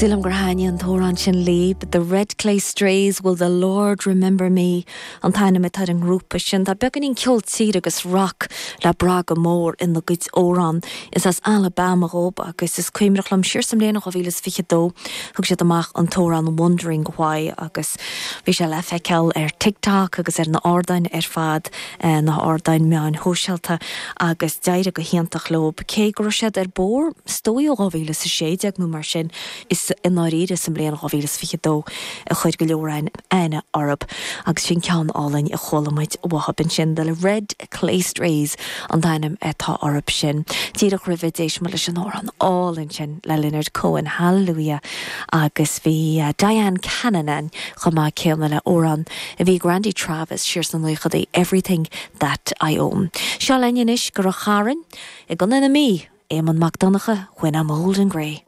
Sílim gur thaitnigh an t-amhrán sin libh, The Red Clay Strays, Will the Lord Remember Me an t-ainm atá ar an ngrúpa sin. Tá beagáinín ceol tíre agus rock le brath go mór ina gcuid amhrán. Is as Alabama dhóib agus is cuimhneach liom siar sa mbliain 2022 thug siad amach an t-amhrán Wondering Why agus bhí sé le feiceáil ar TikTok agus ar na ardáin ar fad, na hardáin meáin shóisialta agus d'éirigh go hiontach leob. Cé go raibh siad ar bóthar is dóigh ó 2016 nó mar sin, is i ndáiríre sa mbliain 2022 a chuir go leor againn aithne orthub agus sin ceann álainn a chuala muid uathub ansin, The Red Clay Strays an t-ainm atá orthub sin. Díreach roimhe d'éist muid leis an amhrán álainn sin le Leonard Cohen, Hallelujah agus bhí Dyan Cannon ann chomh maith céanna le amhrán a bhí ag Randy Travis siar sna naochadaí, Everything That I Own. Seo linn anois go Rath Chairn i gContae na Mí, Éamonn Mac Donncha, When I'm Old and Grey.